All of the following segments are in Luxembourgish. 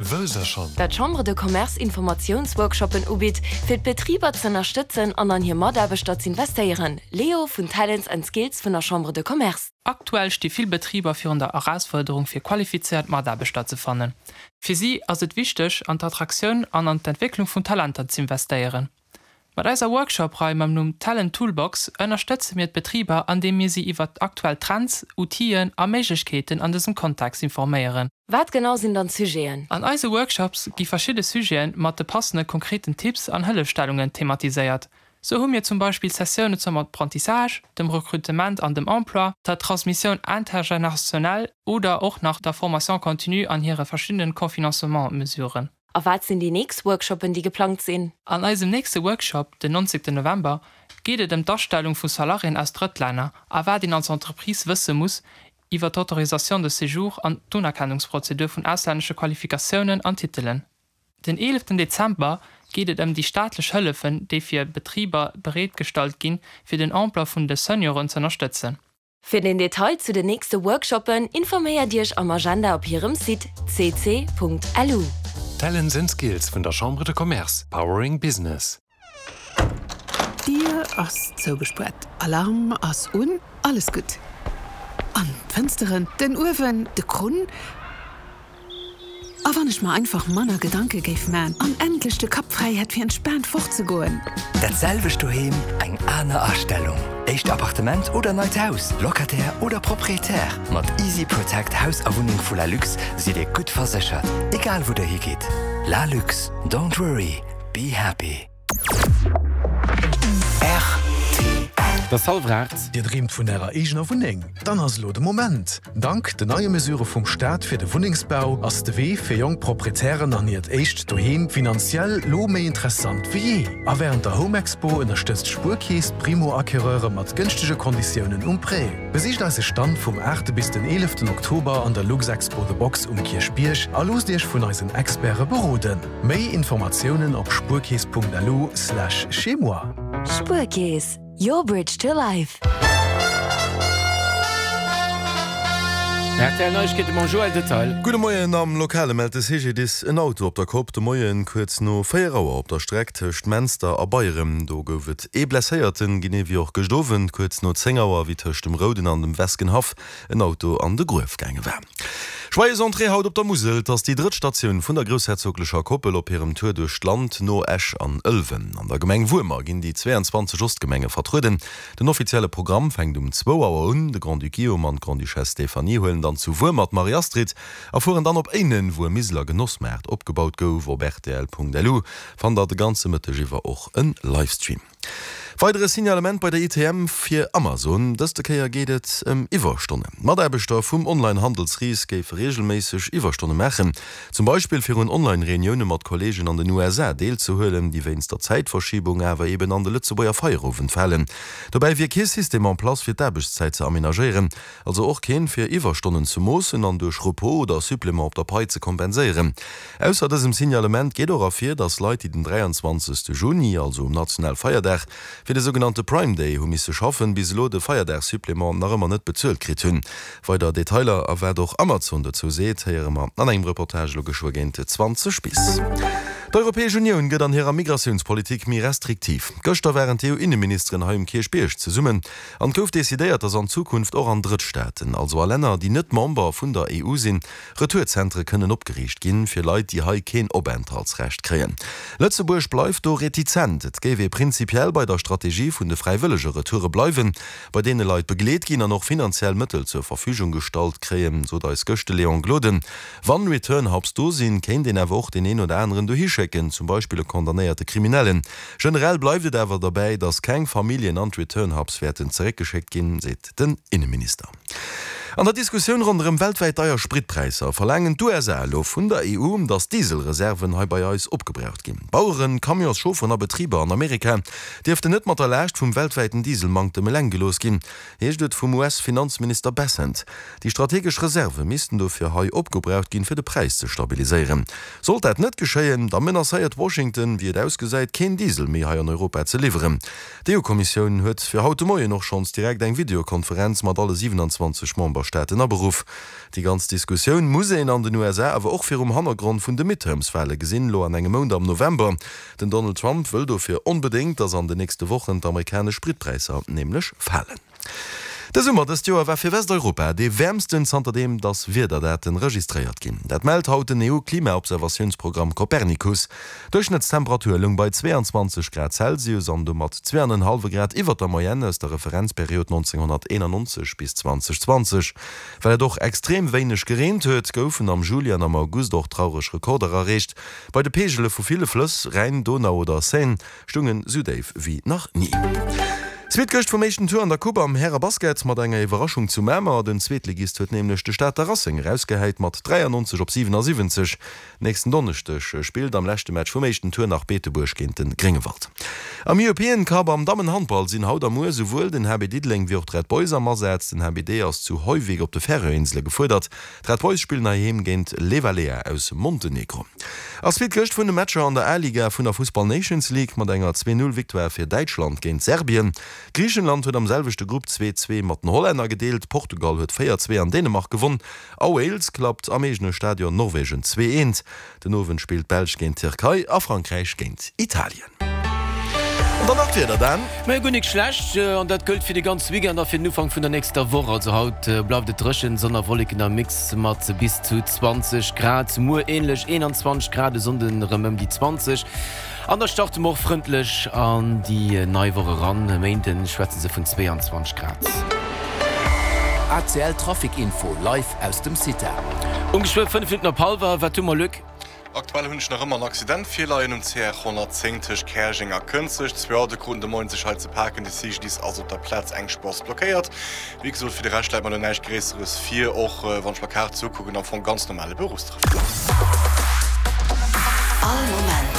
Wësst der schonn? Dat d'Chambre de Commerce Informatiounsworkshoppen ubitt, fir d'Betriber z'ënnerstëtzen an an hir Mataarbechter z'investéieren. Leo vun Talents and Skills vun der Chambre de Commerce. Aktuell sti vill Betriber virun der Erausfuerderung fir qualifizéiert Mataarbechter ze fannen. Fir si ass et wichteg an d'Attraktioun an an d'Entwécklung vun Talenter z'investéieren. Mat eiser Workshop-Rei mam Numm Talent Toolbox ënnerstëtze mir d'Betriber andeem mir si iwwert aktuell Trends, Outillen a Méiglechkeeten an dësem Kontext informéieren. Wat genau sinn dann d'Sujeten? An eise Workshops gi verschidde Sujete mat de passende konkreten Tipps an Hëllefstellungen thematiséiert. Sou hu mir zum Beispill Sessioune zum Apprentissage, dem Recrutement an dem Emploi, der Transmissioun intergénérationnelle oder och nach der Formation continue an hire verschiddenen Confinancementsmesuren. A wat sinn déi nächst Workshoppen, déi geplangt sinn? An eisem nächste Workshop, den 19 November, geet et ëm d'Astellung vu Salariéen aus Drëttlänner a wat een als Entreprise wësse muss iwwer d'Autorisation de séjour an d'Unerkennungsprozedur vun auslännesche Qualifikatiounen an Titelen. Den 11 Dezember geet et ëm déi staatlech Hëllefen, déi fir Betriber bereetgestallt ginn, fir den Emploi vun de Senioren z'ënnerstëtzen. Fir den Detail zu den nächste Workshoppen informéiert Iech am Agenda op hirem Site cc.lu. Talents and Skills vun der Chambre de Commerce, powering business. D'Dier ass zougespuert, Alarm ass un, alles gutt. An d'Fënsteren, den Uewen, de Krunn. A wann ech mer einfach manner Gedanke géif man an endlech de Kapp fräi hätt fir entspaant fort ze goen. Dat selwecht doheem, eng aner Astellung. Éischt Appartement oder neit Haus, Locataire oder Proprietär, mat Easy Protect Haus a Wunneng vu Lalux sidd Dir gutt verséchert, egal wou der higitt. Lalux, don't worry, be happy. Et ass hallwer 8. Dir dreemt vun ärer eegener Wunneng? Dann ass elo de Moment! Dank den neie Mesurë vum Staat fir de Wunnengsbau ass de Wee fir jonk Proprietären an hiert éischt Doheem finanziell lo méi interessant wéi jee. A wärend der Home Expo ënnerstëtzt d'Spuerkeess d'Primo-Acquéreure mat gënschtege Konditiounen um Prêt. Besicht eise Stand vum 8 bis den 11 Oktober an der Luxexpo The Box um Kierchbierg a loosst Iech vun eisen Experte beroden. Méi Informatiounen op spuerkeess.lu slash chez-moi. Spuerkeess, your bridge to life. Rtl Neiegkeete mam Joël Detail. Gudde Moien, Am Lokale mellt de CGDIS en Auto op der Kopp de Moien kuerz no 4 Auer op der Streck tëscht Menster a Beyerem. Do gouf et ee Blesséierten, genee wéi och gëscht Owend kuerz no 10 Auer, wéi tëscht dem Rouden an dem Weskenhaff en Auto an de Gruef gaange war. Joyeuse Entrée haut op der Musel, 't ass déi drëtt Statioun vun der groussherzoglecher Koppel op hirem Tour duerch d'Land no Esch an Ëlwen. An der Gemeng Wuermer ginn déi 22 Ostgemenge vertrueden. Den offizielle Programm fänkt um zwou Auer un. De Grand-Duc Guillaume an d'Grande-Duchesse Stéphanie huelen dann zu Wuermer d'Marie-Astrid a fueren dann op Éinen, wou e Miseler Genossmaart opgebaut gouf. Op rtl.lu fannt der de ganze Mëtteg iwwer och e Livestream. Weidere Signalement bei der ITM fir Amazon, dëste Kéier geet et ëm Iwwerstonnen. Mataarbechter vum Online-Handelsris géife reegelméisseg Iwwerstonne maachen, zum Beispill fir un Online-Reunioune mat Kolleegen an den USA deelzehuelen, déi wéinst der Zäitverschibung awer eben an de Lëtzebuerger Feierowend falen. Dobäi wier kee System en place fir d'Aarbechtszäit ze amenagéieren. Also och keen, fir Iwwerstonnen ze moossen an duerch Repos oder Supplément op der Pai ze kompenséieren. Ausser dësem Signalement geet och ervir, dass Leit, déi den 23. Juni, also um national Feierdag, fir de sougenannte Prime Day hu misse schaffen, bis elo de Feierdagsupplément nach ëmmer net bezuelt kritt hunn. Weider Detailer a wat och Amazon dozou seet, héiere mer an engem Reportage elo geschwë géint 20 bis. D'Europäesch Unioun gëtt an hirer Migratiounspolitik méi restriktiv. Gëschter waren d'EU-Inneministeren hei um Kierchbierg zesummen. An et gouf decidéiert, datt an Zukunft och an Drëttstaaten, also a Länner, déi net Member vun der EU sinn, Retourzentere kënnen opgeriicht ginn, fir Leit, déi hei keen Openthaltsrecht kréien. Lëtzebuerg bleift do retizent. Et géif ee prinzipiell bei der Strategie vun de fräiwëllege Retoure bleiwen, bei deene Leit begleet ginn an och finanziell Mëttel zur Verfügung gestallt kréien, sot eis gëscht de Léon Gloden. Wann Return Hubs do sinn, kéint een awer och deen een oder aneren dohi schécken, zum Beispill e condamnéierte Kriminellen. Generell bleift et awer derbäi, datt keng Familljen an d'Return Hubs wäerten zeréckgeschéckt ginn, seet den Inneminister. An der Diskussioun ronderëm weltwäit deier Spritpräisser verlaangen d'USA elo vun der EU, datt d'Dieselreserven hei bei eis opgebraucht ginn. Baueren, Camionschaufferen a Betriber an Amerika dierften net mat der Laascht vum weltwäiten Dieselmanktem eleng gelooss ginn, heescht et vum US-Finanzminister Bessent. Déi strategesch Reserve missten dofir hei opgebraucht ginn, fir de Präis ze stabiliséieren. Sollt dat net geschéien, da menacéiert Washington, wéi et ausgesäit, keen Diesel méi hei an Europa ze liwweren. D'EU-Kommissioun huet fir haut de Moien och schonns direkt eng Videokonferenz mat alle 27 Memberstaaten. Memberstaaten aberuff. Déi ganz Diskussioun muss een an den USA awer och virum Hannergrond vun de Midterms-Wale gesinn, elo an engem Mount am November. Den Donald Trump wëll dofir onbedéngt, datt an den nächste Wochen d'amerikanesch Spritpräisser nämlech falen. De Summer dëst Joer war fir Westeuropa dee wäermsten zanterdeem datt Wiederdaten registréiert ginn. Dat mellt haut den EU-Klimaobservatiounsprogramm Copernicus. D'Duerchschnëttstemperatur loung bei 22 Grad Celsius an domat zweeanenhallwe Grad iwwert der Moyenne aus der Referenzperiod 1991 bis 2020. Well et och extrem wéineg gereent huet, goufen am Juli an am August och traureg Rekorder erreecht. Bei de Peegele vu ville Flëss, Rhäin, Donau oder Seine, stungen sou déif wéi nach ni. Suite gëscht vum éischten Tour an der Coupe am Härebasket mat enger Iwwerraschung zu Mamer. Den Zweetligist huet nämlech de Stater Racing erausgehäit mat 93 op 77. Nächsten Donneschdeg spillt am leschte Match vum éischten Tour nach Beetebuerg géint de Gréngewald. Am European Cup am Dammenhandball sinn haut a muer souwuel den HB Diddeleng wéi och d'Red Boys am Asaz. Den HBD ass zu Hoyvík op de Färöerinsele gefuerdert. D'Red Boys spillen heiheem géint Levalea aus Montenegro. A Suite gëscht vun de Matcher an der A-Liga vun der Fussball Nations League mat enger 2, 0 Victoire fir Däitschland géint Serbien. Griichenland huet am selwechte Grupp 2, 2 mat den Hollänner gedeelt, Portugal huet 4, 2 an Dänemark gewonn a Wales klappt am eegene Stadion Norwegen 2, 1. Den Owend spillt d'Belsch géint d'Tierkei a Frankräich géint Italien. An dann nach d'Wieder, Dan. Majo, guer nik schlecht, an dat gëllt fir de ganze Weekend a fir den Ufank vun der nächster Woch. Also haut bleift et dréchen, Sonn a Wolleken am Mix mat bis zu 20 Grad. Muer änlech 21 Grad, e Sonnden erëm ëm déi 20. An da starte mer och frëndlech an déi nei Woch eran, e Méinde schwätze se vun 22 Grad. ACL Trafic Info live aus dem CITA. Um geschwë 5 Minutten op hallwer, wat hu mer, Luc? Aktuell hunn ech nach ëmmer en Accident virleien um CR 110 tëscht Käerjeng a Kënzeg. Zwou Autoe kruten de Moien sech hei ze paken. De CGDIS ass op der Plaz, eng Spuer ass blockéiert. Wéi gesot, fir de Rescht läit mer elo näischt Gréisseres vir, och wann ech mer Kaart esou kucken, am Fong ganz normale Beruffstrafic. All Moment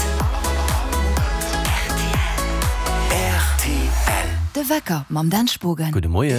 rtl. De Wecker mam Dan Spogen. Gudde Moien.